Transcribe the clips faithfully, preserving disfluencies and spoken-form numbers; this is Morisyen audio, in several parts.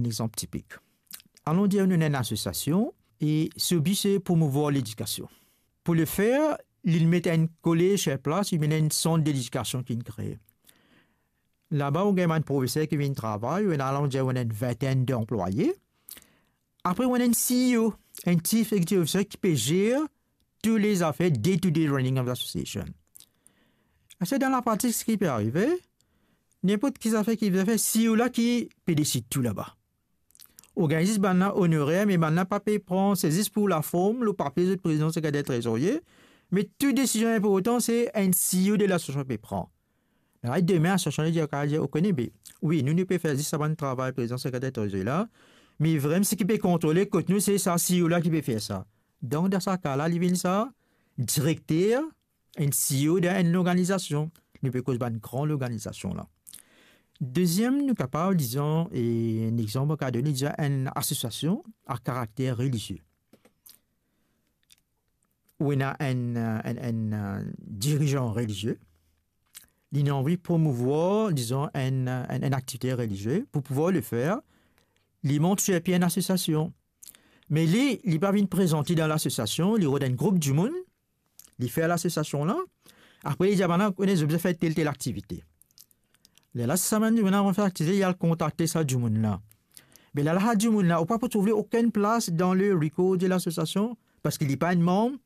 Enn exanp tipik. Alon dir nou ena enn asosiasion e so bi se promouvwar ledikasion. Pou le fer, li met enn kolez sir plas, li met enn sant de ledikasion ki inn kree. Laba ou gagn bann profeser ki vinn travay, ou ena, alon dir, ou ena enn vintenn de anplwaye. Apre ou ena enn C E O, enn Chief Executive Officer ki pe zer tou le zafer, day to day running of the association. Ase dan lapratik, seki pe arive, ninport ki zafer ki fer, C E O la ki pe desid tou laba. Ou gagn zis bann la onorer, me bann la pa pe pran, se zis pou laform, lor papie zot prezidan, sekreter, trezorie, me tou desizion inportan se enn C E O de lasosiasion pe pran. La, demin, lasosiasion dir, kapav dir, ou kone, be, wi, nou, nou pe fer zis sa bann travay prezidan, sekreter, trezorie la, me vremem seki pe kontrole kot nou, se sa C E O la ki pe fer sa. Donk, dan sa ka la, li vinn sa direkter, enn C E O dan enn lorganizasion. Nou pe koz bann gran lorganizasion la. Deziem, nou kapav, dizon, e enn exanp, ou kapav donn, dizon, enn asosiasion a karakter relizie. Ou ena enn, eh, enn, enn, eh, dirizan relizie, li ena anvi promouvwar, dizon, enn, eh, enn, enn aktivite relizie, pou pouvwar le fer, li mont sir pie enn asosiasion. Me li, li pa vinn prezant li dan lasosiasion, li rod enn group dimoun, li fer lasosiasion la. Apre, li dir, "Bann la, kone, zot bizin fer tel, tel aktivite." Lerla, si sa bann dimoun la anvi fer aktivite, li al kontakte sa dimoun la. Me lerla, sa dimoun la, ou pa pou trouv li okenn plas dan le record de lasosiasion, parski li pa enn manm,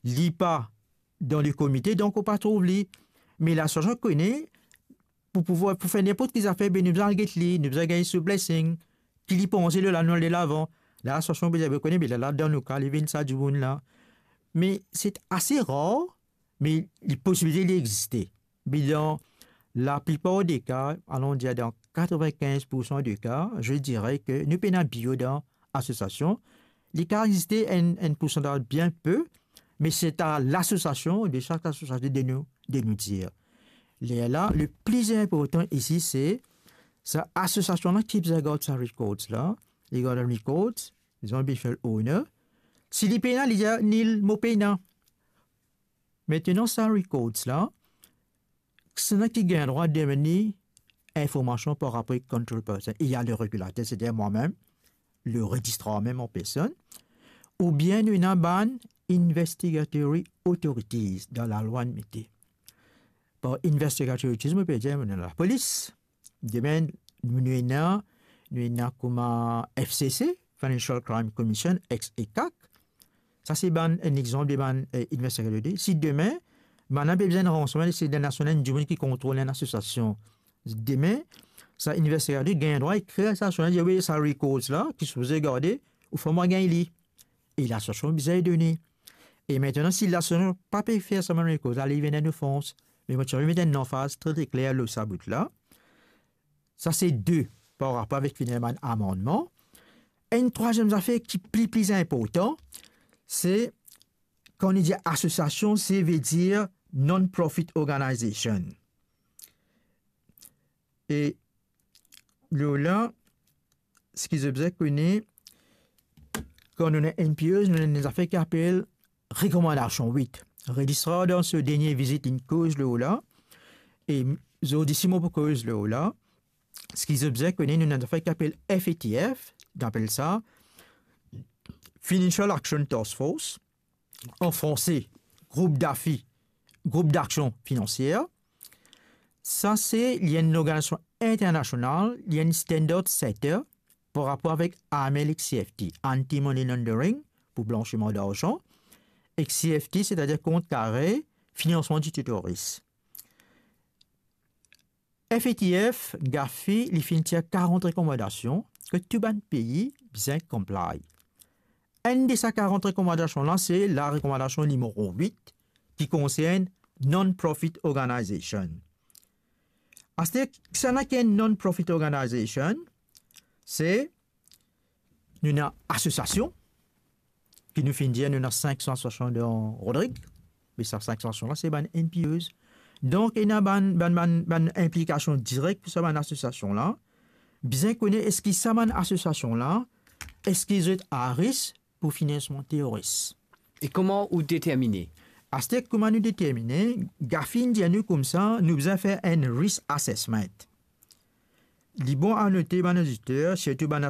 li pa dan le komite, donk ou pa trouv li. Me lasosiasion kone, pou pouvwar, pou fer ninport ki zafer, be nou bizin al get li, nou bizin gagn so blessing, ki li panse lor la, nou ale lavan. Lasosiasion bizin, be kone, be lerla, dan nou ka, li vinn sa dimoun la. Me se ase rar, me li posibilite li existe. Me dan laplipar de ka, alon dir dan katrevinkinz poursan de ka, je dirais ke nou pena abio dan asosiasion. Li kapav existe enn, enn poursantaz bien pe, me se a lasosiasion, de sak lasosiasion de nou, de nou dir. Lerla, le pli inportan isi, se sa asosiasion la ki bizin gard sa records la, li gard records, dizon, beneficial owner. Si li pena, li dir, "Nil, mo pena." Aster sa records la, kisannla ki gagn drwa demann li informasion par rapor ek control person? Il y a le régulateur, c'est-à-dire moi-même, le registrar mem an personn, oubien nou ena bann investigatory authorities dan lalwa nou mete. Par investigatory authorities, mo pe dir, nou ena lapolis. Demin, nou, nou ena, nou ena kouma F C C, Financial Crime Commission, ex ECAC. Sa se bann, enn exanp de bann, eh, investigator. Si demin, bann la pe bizin ransegneman, se dan lasosiasion enn dimoun ki kontrol enn asosiasion. Demin, sa investigator gagn drwa ekrir sa lasosiasion, dir, "Wi, sa records la, ki sipoze garde, ou fer mwa gagn li." E lasosiasion bizin done. E aster, si lasosiasion pa pe fer sa bann records la, li vinn enn ofans. Me mo ti anvi met enn lanfaz tre, tre kler lor sa bout la. Sa se de, par rapor avek fini bann amannman. Enn trwaziem zafer ki pli, pli inportan, se kan nou dir asosiasion, se ve dir non-profit organization. E lor la, seki zot bizin kone, kan nou ena N P Os, nou ena enn zafer ki apel rekomandasion wit. Registrar dan so dernie vizit inn koz lor la, e zordi si mo pou koz lor la, seki zot bizin kone, nou ena enn zafer ki apel F A T F, nou apel sa Financial Action Task Force, an franse, group d'afi-, group d'action financière. Sa se, li enn lorganizasion internasional, li enn standard setter par rapor avek A M L ek C F T, Anti-Money Laundering, pou blansiman darzan, ek C F T, setadir kont kare, finansman di teroris. F A T F, GAFI, li finn tir karant rekomandasion ke tou bann pei bizin comply. Enn de sa karant rekomandasion la, se larekomandasion nimero wit, ki konsern non-profit organization. Aster, kisannla ki enn non-profit organization? Se, nou ena asosiasion, ki nou finn dir nou ena sink san asosiasion dan Rodrig, me sa sink san asosiasion la, se bann N P Os. Donk, ena bann, bann, bann, bann inplikasion direk pou sa bann asosiasion la. Bizin kone eski sa bann asosiasion la, eski zot a risk pou finansman teroris. E kouma ou determine? Aster, kouma nou determine, GAFI inn dir nou koumsa, nou bizin fer enn risk assessment. Li bon a note bann oditer, sirtou bann